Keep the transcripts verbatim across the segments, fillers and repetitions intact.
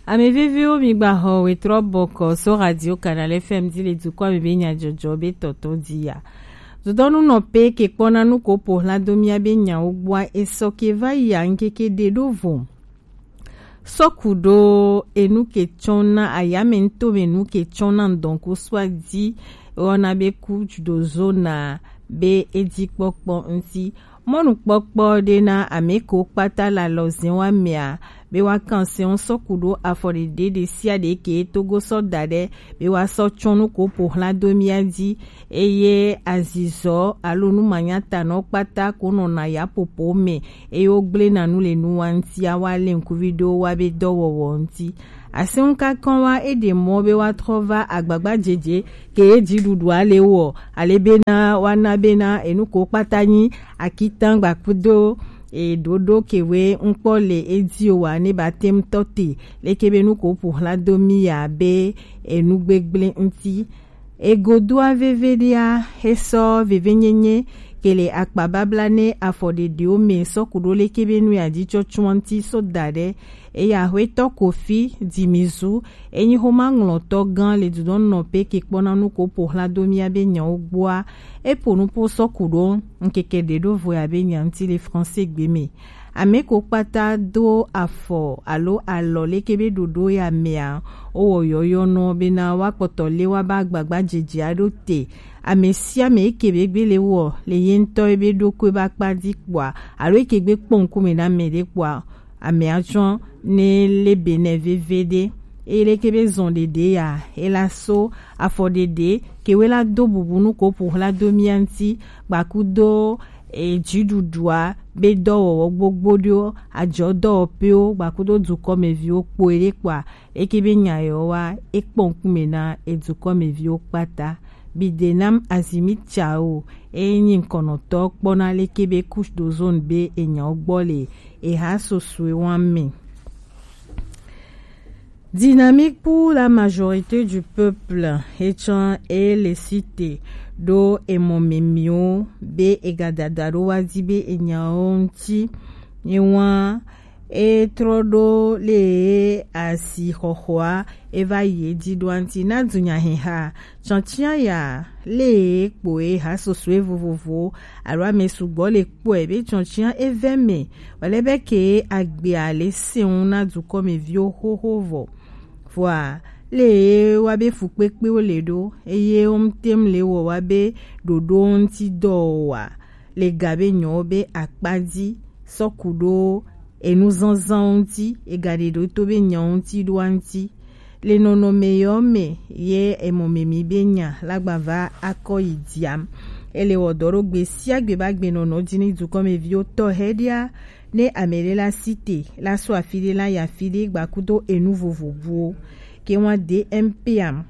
Ame veviwo, mi gba xɔ wetrɔ bɔkɔ so Radio Canal F M di le dukɔ me be nyadzɔdzɔ be tɔtɔ di ya. Dodɔnu nɔ pe ke kpɔna nu ko po hla do mia be nyawo gbɔa esɔ ke va yi a ŋkeke ɖe ɖo vo. Sɔku ɖo enu ke tsɔna ayame ŋutome nu ke tsɔna ŋdɔn ko sua di wɔna be ku do zona be edzi kpɔkpɔ ŋuti. Mɔnukpɔkpɔ ɖe na ame ko kpata le alɔzɛn wa mea be wa kan sɛn sɔku ɖo afɔ ɖeɖe ɖe sia ɖe ke Togo sɔ da ɖe be wa sɔ tsɔ nu ko po hla do mia di, eye azizɔ alo nu manyatanɔ kpata ko nɔna ya popo me, eye wo gblena nu le nu wa ŋuti a wa le ŋkuvi ɖo wa be dɔwɔwɔ ŋuti. Asɛnŋ kakɔn wa e ɖe mɔ be wa trɔ va agbagba jeje ke ye dziɖuɖua le wɔ, ale bena wa na bena enu ko kpata nyi akitan gbakudo e ɖoɖo ke we ŋkpɔ le edi o wa ne ba tem tɔ te leke be nu ko ƒo hla do mi ya be enu gbegble ŋuti. Egodoa veve ɖea, esɔ vevenyenye ke le akpa babla ne afɔ ɖeɖewo me sɔ ku ɖo leke be nu ya dzi tsɔtsɔa ŋuti so da ɖe. Eya hwetɔ Kofi Dimizu, enyi xoma ŋlɔtɔ gã le dudɔn nɔ pe ke kpɔna nu ko ƒo hla do mia be nyawo gbɔa. Eƒo nu po sɔ ku ɖo ŋkeke ɖe ɖo vo ya be nya ŋuti le français gbe me. Ame ko kpata do afɔ alo alɔ leke be ɖoɖo ya mea, wowɔ yɔyɔnɔ bena woakpɔtɔ le wa ba agbagba dzedzea ɖo te. Ame sia ame eke be gbe le wɔ le ye ŋutɔ ebe ɖokui ba kpa di kpɔa, alo eke gbe kpɔ ŋkume na ame ɖe kpɔa, ame atsɔ ne le be ne veve ɖe. Eye leke be zɔn ɖeɖe ya, ela so afɔ ɖeɖe ke we la do bubu nu ko ƒo hla do mia ŋuti, gbakudo e dziɖuɖua be dɔwɔwɔ gbogbo ɖewo, adzɔ dɔwɔƒewo gbakudo dukɔmeviwo kpoe ɖe kpɔa, eke be nya yewo wa ekpɔ ŋkume na edukɔmeviwo kpata. Bidenam Azimi Tsao, eye nyi ŋkɔnɔtɔ kpɔna leke be couche d'ozone be enyawo gbɔ le eha sosue wa me. Dynamique pour la majorité du peuple, etsɔ ele site ɖo emɔ memiwo be egadada ɖo wa di be enyawo ŋuti. Ewa etrɔ ɖo le asi xɔxɔa eva yi edzi ɖo anti na dunyaheha. Tsɔtsia ya le kpoe ha sosue vovovo alo ame sugbɔ le kpɔe be tsɔtsia eve me wòle be ke agbea le seŋ na dukɔmeviwo xoxo vɔ. Vɔa le wa be fukpekpewo le ɖo eye wo ŋutem le wɔ wa be ɖoɖo ŋuti dɔ wa le ga be nyɔwo be akpa dzi sɔ ku ɖo enu zazãwo ŋuti, ega ɖe ɖo to be nyawo ŋuti ɖoa ŋuti. Le nɔnɔme yɔ me ye emɔ me mi be nya la gba va akɔ yi diam. Ele wɔ dɔ ɖo gbe sia gbe ba gbe nɔnɔ dzi ni dukɔmeviwo tɔ hɛ ɖia ne ame ɖe la si te la so afi ɖe la ya afi ɖe gbakudo enu vovovowo. Ke wa D M P am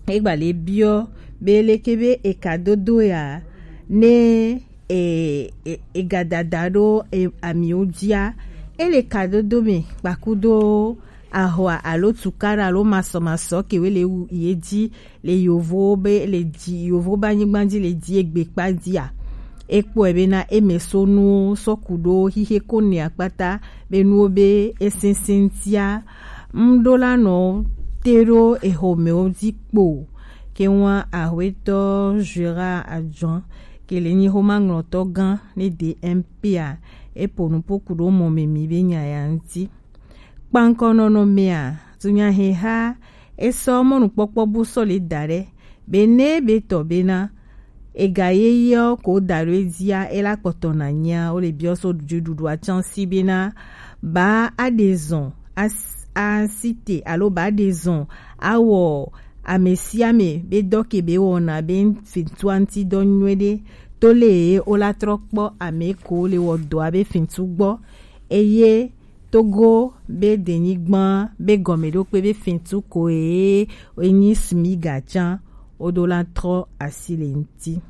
egba le biɔ be leke be eka dodo ya ne e, e, egadada ɖo e, amiwo dzia, ele kadodo me kpakudo ahwa alo tukara alo masɔmasɔ kewe le wu ye dzi le yovo be le dzi yovo be anyigba dzi le dzi egbe kpa dzia. Ekpɔe bena eme so nuwo sɔ ku ɖo xixe ko ne akpata be nuwo be esese ŋutia ŋɖo la nɔ te ɖo exɔmewo dzi kpo. Ke wa ahwetɔ Gérard Adjoin ke le nyi xoma ŋlɔtɔ gã ne D M P a, epo nupo ku ɖo mɔ me mi be nya ya ŋuti. Kpankɔ nɔnɔmea, dunyaheha esɔ mɔnukpɔkpɔ bu sɔ le da ɖe be ne be tɔ bena ega ye yɔ ko da ɖo edzia ela kpɔtɔ na nyia wo le biɔ so dziɖuɖu atsansi bena ba aɖe zɔn asi te alo ba aɖe zɔn awɔ ame sia ame be dɔ ke be wɔna be fintua ŋuti dɔ nyuie ɖe to le ye wo la trɔ kpɔ ame ko le wɔ dɔa be fintu gbɔ eye Togo be denyigba be gɔmeɖokpe be fintu ko ye enyi smiga can wo do la trɔ asi le ŋuti.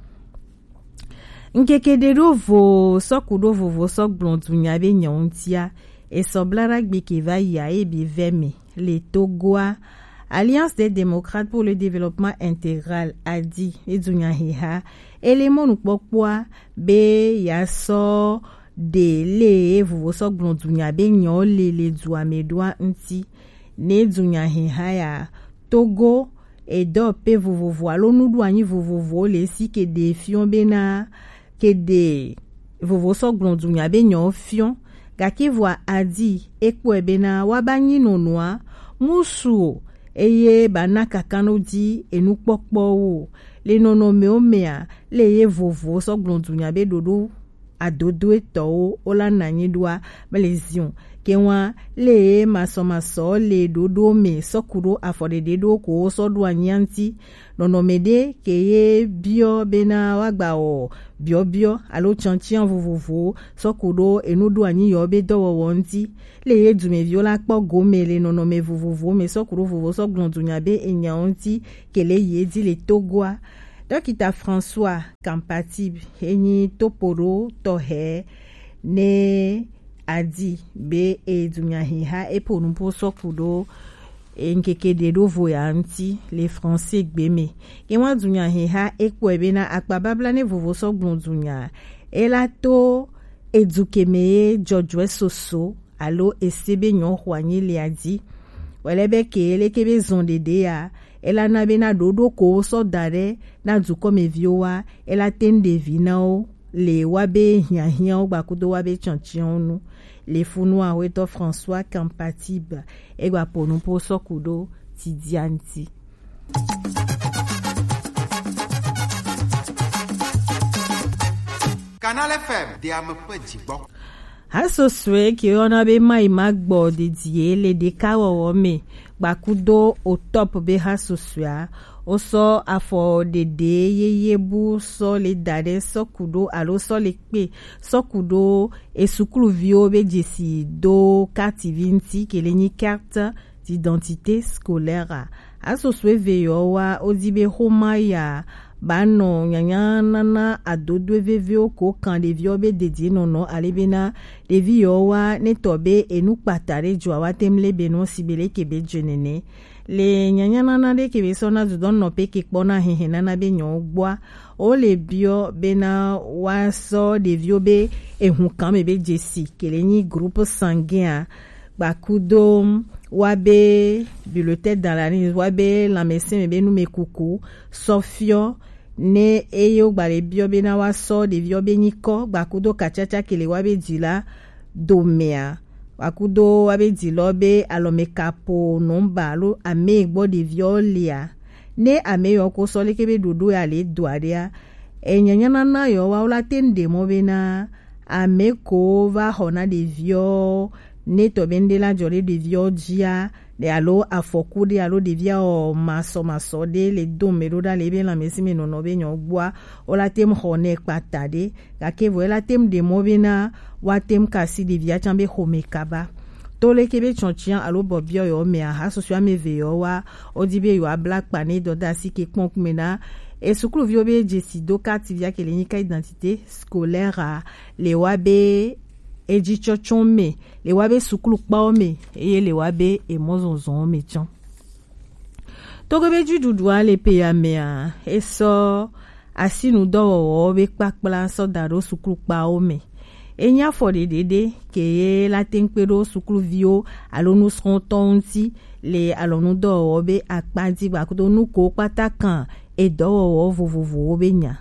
Ŋkeke ɖe ɖo vo sɔ ku ɖo vovo sɔ gblɔ dunya be nyɔ ŋutia esɔ bla ɖa gbe ke va yi a ye bi vɛ me le Togoa. Alliance des démocrates pour le développement intégral a di e dunya heha ele mɔnukpɔkpɔa be ya sɔ ɖe le vovo sɔ gblɔ dunya be nyɔ le le dua me ɖoa ŋuti. Ne dunya hiha ya, Togo, edɔ pe vovovo alo nuɖoanyi vovovowo le si ke ɖe fiɔ bena ke ɖe vovo sɔ gblɔ dunya be nyɔ fiɔ. Gake vɔa adi ekpɔe bena wa ba nyi nɔnɔa musu o, eye ba na kakanɔ di enukpɔkpɔwo o. Le nɔnɔmewo mea, le ye vovo sɔ gblɔ dunya be ɖoɖo adodoetɔwo wo la na nyi ɖoa, mele zion. Ke wa le ye masɔmasɔ le ɖoɖo me sɔ ku ɖo afɔ ɖeɖe ɖo ko wo sɔ ɖo anyi ŋti. Nɔnɔme ɖe ke ye biɔ bena wa gba wɔ biɔbiɔ alo tiantian vovovowo sɔ ku ɖo enu ɖo anyi yɔ be dɔwɔwɔ ŋti. Le ye dumeviwo la kpɔ gome le nɔnɔme vovovowo me sɔ ku ɖo vovo sɔ gblɔ dunya be enyawo ŋti ke le ye di le Togoa. Dɔkita François Kampatib, enyi topoɖo tɔxɛ ne adi be edunya hiha epo nupo sɔ ku ɖo enkeke ɖe ɖo vo ya ŋti le français gbe me. Ke wa dunya hiha ekpɔe bena akpa babla ne vovo sɔ gblɔ dunya, ela to edu ke me ye jɔjɔɛ soso alo ese be nyɔ xɔ anyi le adi. Wɛlɛ be ke leke be zɔn ɖeɖe ya, ela na be na ɖoɖo ko sɔ da ɖe na dukɔmeviwo wa, ela te ŋ ɖevi na wo le wa be hiahiawo gbakudo wa be tiantianwo nu. Le funu ahwetɔ François Kampatib egba po nupo sɔ ku ɖo tidia ŋti. Canal F M, de ame ƒe dzigbɔ. Hasosue ke yɔna be mayi magbɔ dedie le ɖekawɔwɔ me gbakudo otɔp be hasosua, wosɔ afɔ ɖeɖe yeye bu sɔ le da ɖe sɔ ku ɖo alo sɔ le kpe sɔ ku ɖo esukluviwo be dzesi do kati vi ŋti ke le nyi carte d'identité scolaire a. Hasosue ve yɔ wa wodi be xoma ya ba nɔ nyanyanana adodoe vevewo ko kan ɖeviwo be dedienɔnɔ ale bena ɖevi yɔ wa ne tɔ be enu kpata ɖe dzɔ wa te ŋ le be nɔ si be leke be dze nene. Le nyanyanana ɖe ke be sɔ na dudɔ nɔ pe ke kpɔ na hehe nana be nyɔ gbɔa, wo le biɔ bena wa sɔ ɖeviwo be ehun kan me be dzesi ke le nyi groupe sanguin a, gbakudo wa be bulletin dans la nuit, wa be lãmesẽ me be numekuku sɔ fiɔ ne eye wo gba le biɔ bena wa sɔ ɖeviwo be nyikɔ gbakudo katsatsa ke le wa be dzi la domea, gbakudo wa be dzi lɔ be alɔmekapo nɔmba alo ame gbɔ ɖeviwo lia. Ne ame yɔ ko sɔ leke be ɖoɖo ya le doa ɖea, enyanyanana yɔ wa wo la te ŋ ɖe mɔ bena ame ko va xɔ na ɖeviwo ne tɔ be ŋɖe la dzɔ ɖe ɖeviwo dzia, ɖe alo afɔku ɖe alo ɖevia wɔ masɔmasɔ ɖe le do me ɖo ɖa le ebe lãmesẽ me nɔnɔ be nyɔ gbɔa, wo la te ŋ xɔ nɛ kpata ɖe, gake vɔ e la te ŋ ɖe mɔ bena wa te ŋ kasi ɖevia tsã be xome kaba. To leke be tsɔtsiã alo bɔbiɔ yɔ mea, hasusui ame eve yɔ wa, wodi be yewoa bla kpa ne dɔdasi ke kpɔn kume na esukluviwo be dzesi do kati via ke le nyika identité scolaire a, le wa be ejitsɔtsɔ me, le wa be suklukpawo me, eye le wa be emɔzɔzɔwo me tsã. Togo be dziɖuɖua le pe ya mea, esɔ asinudɔwɔwɔwo be kpakpla sɔ da ɖo suklukpawo me. Enyi afɔ ɖeɖe ɖe ke ye la te ŋ kpe ɖo sukluviwo alo nusrɔ̃tɔwo ŋuti le alɔnudɔwɔwɔ be akpa dzi gbakudo nuko kpata kan edɔwɔwɔ vovovowo be nya.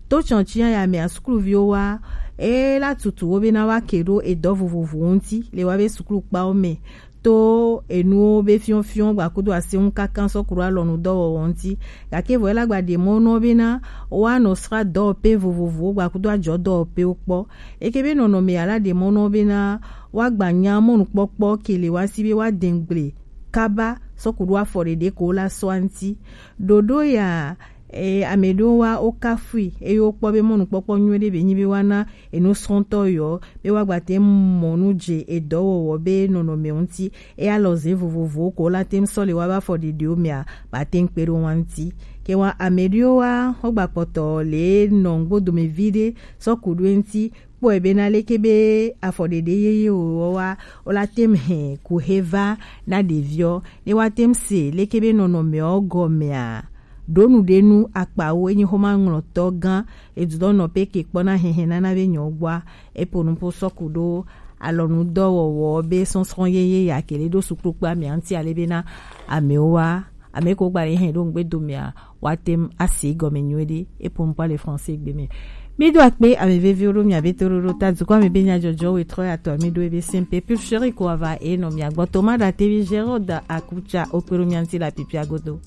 To tsɔtsiã ya mea sukluviwo wa e la tutu wo bena wa ke ɖo edɔ vovovowo ŋuti le wa be suklukpawo me to enuwo be fiɔfiɔ gbakudo aseŋu kaka sɔ ku ɖo alɔnudɔwɔwɔ ŋuti. Gake vɔ ela gba ɖe mɔ nɔ bena woanɔ sra dɔwɔpe vovovowo gbakudo ajɔ dɔwɔpewo kpɔ. Eke be nɔnɔme ya la ɖe mɔ nɔ bena woagba nya mɔnukpɔkpɔ ke le wa si be woade gble kaba sɔ ku ɖo afɔ ɖeɖe ko la sɔa ŋuti. Ɖoɖo ya, e, ame ɖewo wa wo kafui eye wokpɔ be mɔnukpɔkpɔ nyuie ɖe be nyi be woana enusrɔ̃tɔ yɔ be woagba te mɔ nu dze edɔwɔwɔ be nɔnɔme ŋuti. Eya lɔ ze vovovowo ko la te sɔ le wa be afɔ ɖeɖewo mea ba te kpe ɖo wa ŋuti. Ke wa ame ɖewo wa wogba kpɔtɔ le nɔ ŋgbo dome vi ɖe sɔ ku ɖo ŋuti kpɔe bena leke be afɔɖeɖe yeye wòwɔ wa, wola tem hɛn kuhe va na ɖeviɔ, ne woate ŋu se leke be nɔnɔmeɔ gɔmea, ɖo nu ɖe nu akpawo, enyi xoma ŋlɔtɔ gã, edudɔ nɔ pe ke kpɔna hɛhɛ nana be nyɔ gbɔa, epo nupo sɔku ɖo alɔnudɔwɔwɔ be sɔsrɔ̃ yeye ya kele ɖo suklu kpe amea ŋuti ale bena amewo wa ame ko gba le hɛn ɖo ŋgbe domea woate ŋu asi gɔme nyuie ɖe. Epo ŋkpa le français gbe me. Mi do akpe ame veviwo ɖo mia be to ɖoɖo ta dukɔ ame be nyadzɔdzɔ wetrɔ ya tɔ mi ɖo ebe simple pulcherie ko ava e nɔ mia gbɔ toma ɖa tevi Gérard Akutsa okpe ɖo mia ŋuti le apipia godo.